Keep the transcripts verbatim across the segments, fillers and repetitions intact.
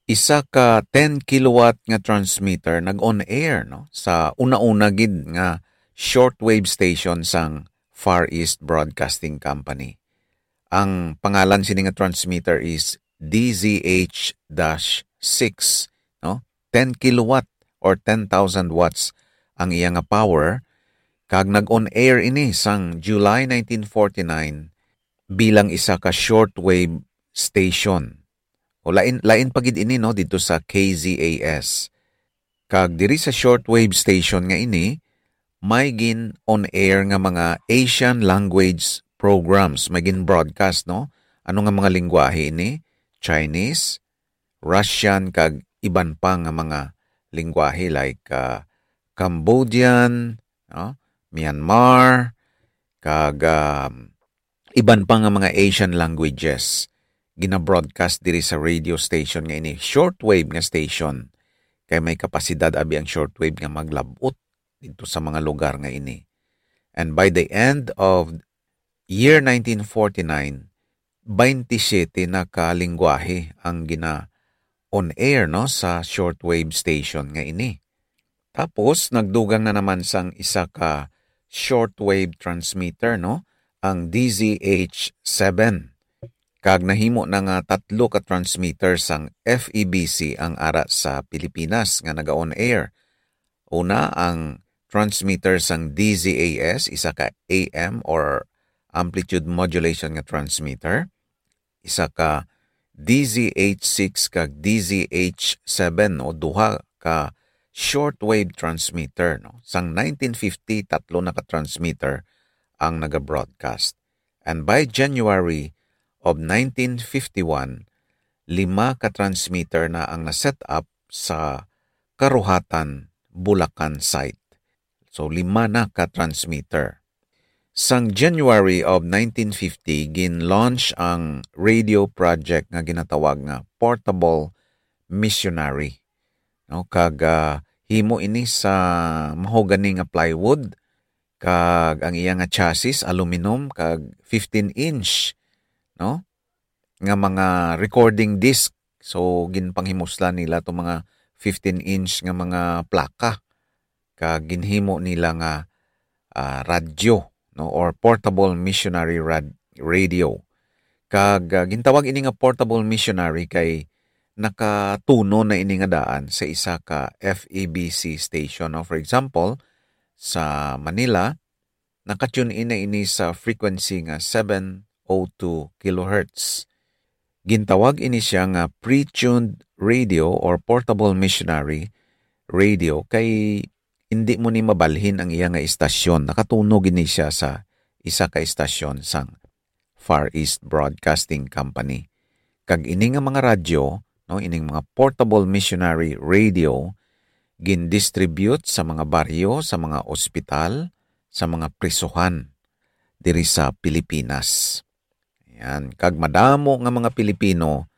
isa ka ten kilowatt nga transmitter nag-on air, no, sa una-una gid nga shortwave station sang Far East Broadcasting Company. Ang pangalan sini nga transmitter is D Z H dash six, no? Ten kilowatt or ten thousand watts ang iya nga power, kag nag-on air ini sang July nineteen forty-nine bilang isa ka shortwave station. O lain, lain pa gid ini, no, dito sa K Z A S. Kag diri sa shortwave station nga ini, may gin-on air nga mga Asian language programs, may gin-broadcast, no? Ano nga mga lengguwahe ini? Chinese, Russian, kag iban pa nga mga lengguwahe like, ah, Cambodian, no? Myanmar, kag, um, iban pa nga mga Asian languages. Gina-broadcast diri sa radio station nga ini, shortwave nga station. Kay may kapasidad abi ang shortwave nga maglab-ot dito sa mga lugar nga ini. And by the end of year nineteen forty-nine, twenty-seven na ka lengguwahe ang gina-on air, no, sa shortwave station nga ini. Tapos, nagdugang na naman sang isa ka shortwave transmitter, no, ang D Z H seven. Kag nahimo na nga tatlo ka transmitter sang F E B C ang ara sa Pilipinas nga naga-on air. Una, ang transmitter sang D Z A S, isa ka A M or amplitude modulation nga transmitter, isa ka D Z H six kag D Z H seven, o duha ka shortwave transmitter, no? Sang nineteen fifty, tatlo na ka transmitter ang naga-broadcast. And by January of nineteen fifty-one, lima ka transmitter na ang na-set up sa Karuhatan, Bulacan site. So, lima na ka transmitter. Sang January of nineteen fifty, gin-launch ang radio project nga ginatawag nga Portable Missionary. No, kag, ah, himo ini sa mahogany nga plywood, kag ang iya nga chassis aluminum, kag fifteen inch, no, nga mga recording disc. So, ginpanghimuslan nila tong mga fifteen inch nga mga plaka, kag ginhimo nila nga, ah, radyo, no, or portable missionary rad-, radio. Kag, ah, gintawag ini nga portable missionary kay nakatuno na ini nga daan sa isa ka F E B C station, no? For example, sa Manila, naka-tune in na ini sa frequency nga seven oh two kilohertz. Gintawag ini siya nga pre-tuned radio or portable missionary radio kay hindi mo ni mabalhin ang iya nga istasyon. Nakatunog ini siya sa isa ka istasyon sang Far East Broadcasting Company. Kag ini nga mga radyo, no, ining mga portable missionary radio, gin-distribute sa mga baryo, sa mga ospital, sa mga prisuhan diri sa Pilipinas. Yan. Kag madamo nga mga Pilipino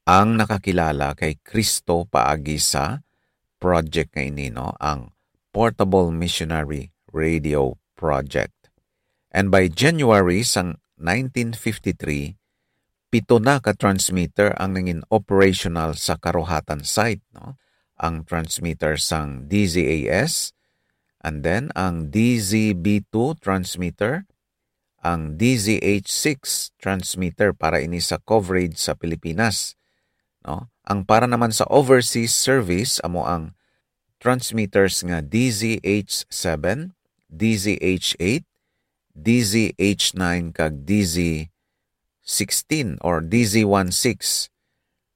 ang nakakilala kay Cristo paagi sa project nga ini, no, ang Portable Missionary Radio Project. And by January sang nineteen fifty-three, pito na ka transmitter ang nangin operational sa Karuhatan site, no? Ang transmitter sang D Z A S, and then ang D Z B two transmitter, ang D Z H six transmitter para ini sa coverage sa Pilipinas, no? Ang para naman sa overseas service, amo ang transmitters nga D Z H seven, D Z H eight, D Z H nine, kag D Z sixteen or D Z one six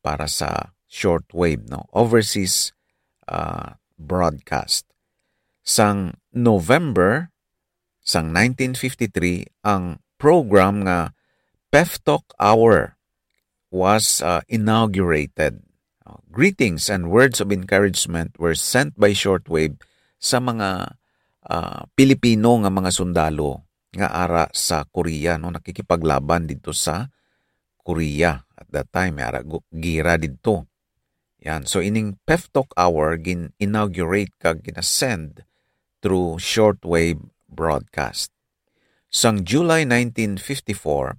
para sa shortwave, no? Overseas, ah, broadcast. Sang November, sang nineteen fifty-three, ang program nga Pef Talk Hour was, uh, inaugurated. Uh, greetings and words of encouragement were sent by shortwave sa mga, uh, Pilipino nga mga sundalo nga ara sa Korea, no, nakikipaglaban didto sa Korea at that time, may ara gu-, gira didto. Yan. So, ining Pef Talk Hour gin-inaugurate kag ginasend through shortwave broadcast. Sang July nineteen fifty-four,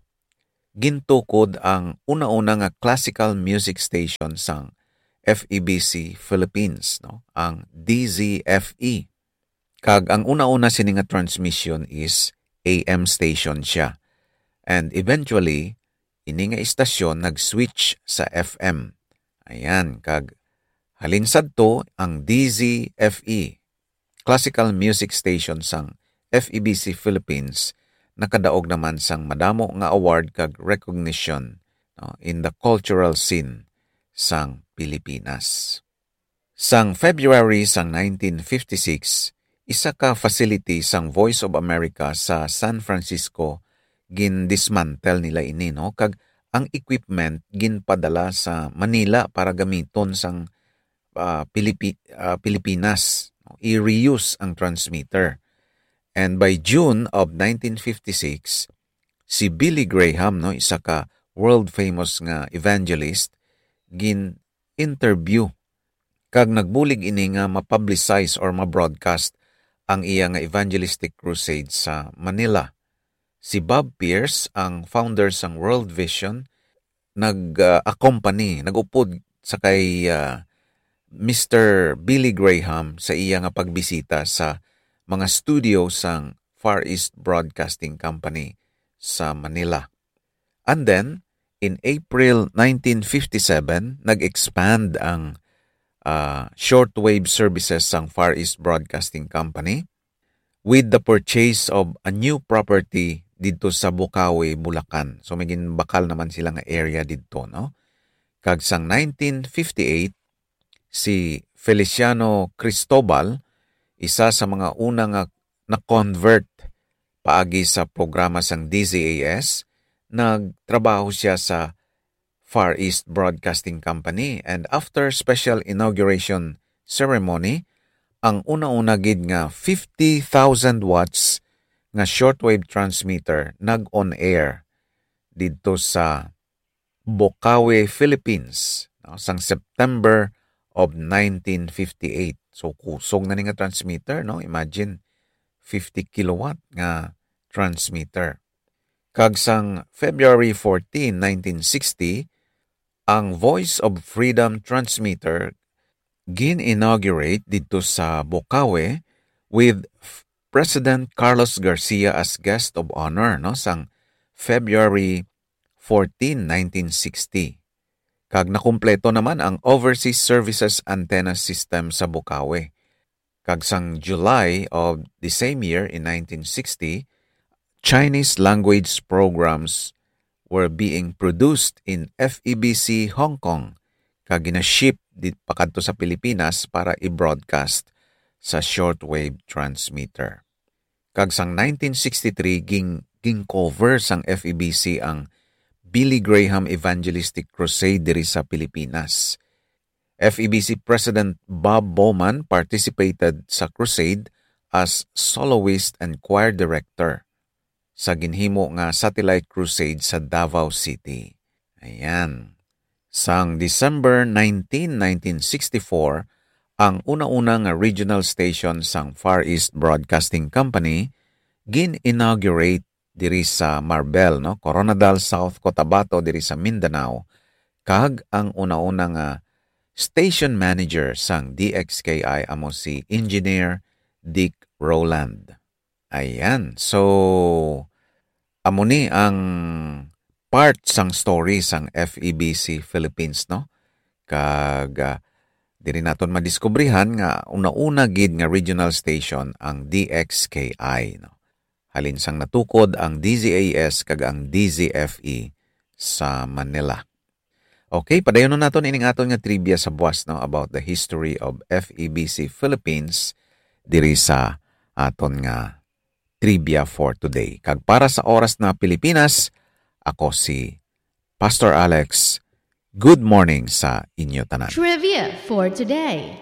gintukod ang una-una nga classical music station sang F E B C Philippines, no? Ang D Z F E. Kag ang una-una sini nga transmission is A M station siya. And eventually, ini nga istasyon nag-switch sa F M. Ayan, kag halin sadto ang D Z F E, classical music station sang F E B C Philippines, nakadaog naman sang madamo nga award kag recognition, no, in the cultural scene sang Pilipinas. Sang February sang nineteen fifty-six, isa ka facility sang Voice of America sa San Francisco gindismantle nila ini, no, kag ang equipment ginpadala sa Manila para gamiton sang, ah, Pilipi-, ah, Pilipinas, no? I-reuse ang transmitter. And by June of nineteen fifty-six, si Billy Graham, no, isa ka world famous nga evangelist, gin-interview kag nagbulig ini nga ma-publicize or ma-broadcast ang iya nga evangelistic crusade sa Manila. Si Bob Pierce, ang founder sang World Vision, nag, ah, accompany, nag-upod sa kay, ah, Mister Billy Graham sa iya nga pagbisita sa mga studio sang Far East Broadcasting Company sa Manila. And then, in April nineteen fifty-seven, nag-expand ang, ah, shortwave services sang Far East Broadcasting Company with the purchase of a new property didto sa Bocaue, Bulacan. So, may ginbakal naman sila nga area didto, no? Kag sang nineteen fifty-eight, si Feliciano Cristobal, isa sa mga una nga na-convert paagi sa programa sang D Z A S, nagtrabaho siya sa Far East Broadcasting Company, and after special inauguration ceremony, ang una-una gid nga fifty thousand watts nga shortwave transmitter nag-on air didto sa Bocaue, Philippines, no, sang September of nineteen fifty-eight. So, kusog na ni nga transmitter, no? Imagine, fifty kilowatt nga transmitter. Kag sang February fourteen, nineteen sixty, ang Voice of Freedom transmitter gin-inaugurate didto sa Bocaue with F-, President Carlos Garcia as guest of honor, no, sang February fourteen, nineteen sixty. Kag nakumpleto naman ang overseas services antenna system sa Bocaue. Kag sang July of the same year, in nineteen sixty, Chinese language programs were being produced in F E B C Hong Kong, kag gina-ship di-, pakadto sa Pilipinas para i-broadcast sa shortwave transmitter. Kag sang nineteen sixty-three, ging-, ging-cover sang F E B C ang Billy Graham Evangelistic Crusade diri sa Pilipinas. F E B C President Bob Bowman participated sa crusade as soloist and choir director sa ginhimo nga satellite crusade sa Davao City. Ayan. Sang December nineteen, nineteen sixty-four, ang una-una nga regional station sang Far East Broadcasting Company gin-inaugurate diri sa Marbel, no? Koronadal, South Cotabato, diri sa Mindanao, kag ang una-una nga station manager sang D X K I amo si Engineer Dick Rowland. Ayan. So, amo ni ang part sang story sang F E B C Philippines, no? Kag, ah, diri naton madiskubrihan nga una-una gid nga regional station ang D X K I, no? Halin sang natukod ang D Z A S kag ang D Z F E sa Manila. Okay, padayonon naton ining aton nga trivia sa buwas, no, about the history of F E B C Philippines diri sa aton nga trivia for today. Kag para sa Oras na Pilipinas, ako si Pastor Alex. Good morning sa inyo tanan. Trivia for today.